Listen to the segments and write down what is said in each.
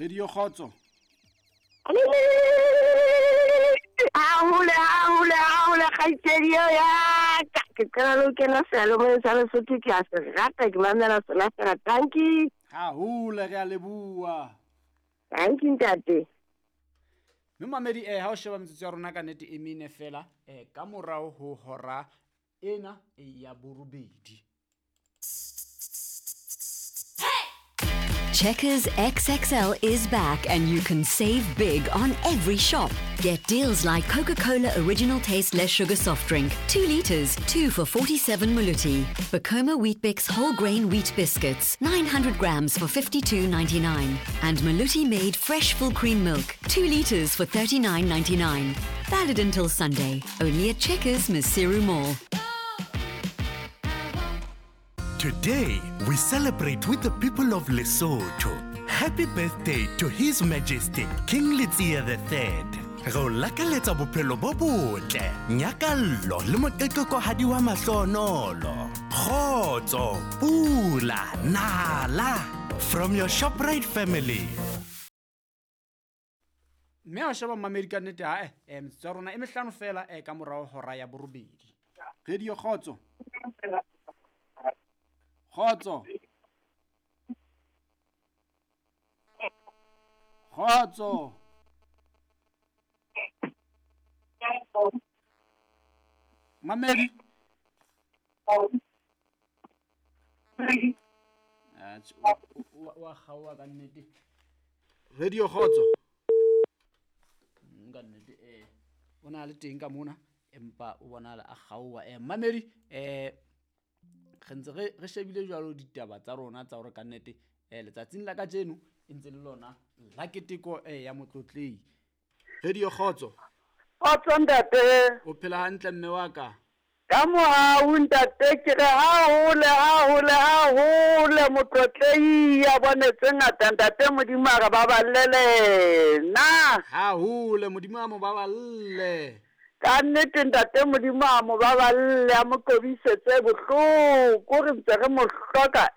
Radio Kgotso. Hahole, hahole, hahole, kgaitsedi eo ya ka. Ke qala le ho kena seyalemoyeng sa Lesotho, ke a se rata, ke mamela sona fela. Tanki. Hahole, re a leboha. Tanki ntate. Mme mamedi, ha o sheba metsotso ya rona ka nnete e mene fela, ka morao ho hora ena ya borobedi. Checkers XXL is back and you can save big on every shop. Get deals like Coca-Cola Original Taste Less Sugar Soft Drink, 2 liters, 2 for 47 Maluti. Bacoma Weet-Bix Whole Grain Wheat Biscuits, 900 grams for 52.99. And Maluti Made Fresh Full Cream Milk, 2 liters for 39.99. Valid until Sunday, only at Checkers Maseru Mall. Today, we celebrate with the people of Lesotho. Happy birthday to His Majesty King Letsie the III. Re o lakaletsa bophelo bo botle, nyakallo le moqeqekohadi wa mahlonolo. Kgotso, pula, nala. From your ShopRite family. Mme a sheba mmamedi ka nnete ha metsotso ya rona e mehlano fela ka morao hora ya borobedi. Radio Kgotso. Kgotso. Kgotso. Mamedi. Wa kgaoha ka nnete. Radio Kgotso. Ka nnete o na le teng ka mona empa o bonala a kgaoha. Mamedi re ntse re shebile jwalo ditaba tsa rona tsa hore ka nnete letsatsing la kajeno e ntse le lona la keteko ya motlotlei. Radio Kgotso. Kgotso ntate. O phela hantle mme wa ka? Ka mohau ntate, ke re hahole, hahole, hahole motlotlei ya bone tse ngata ntate, Modimo a re baballe na. Hahole, Modimo a mo baballe. Ka nnete ntate, Modimo a mo baballe, a mo kobisetse bohloko, re ntse re mo hloka.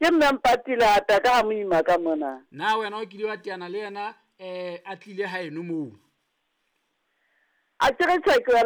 Ke mme Mpatile hata ka ha moima ka mona. Na wena o kile wa teana le yena a tlile haeno moo? A ke re tjhe, ke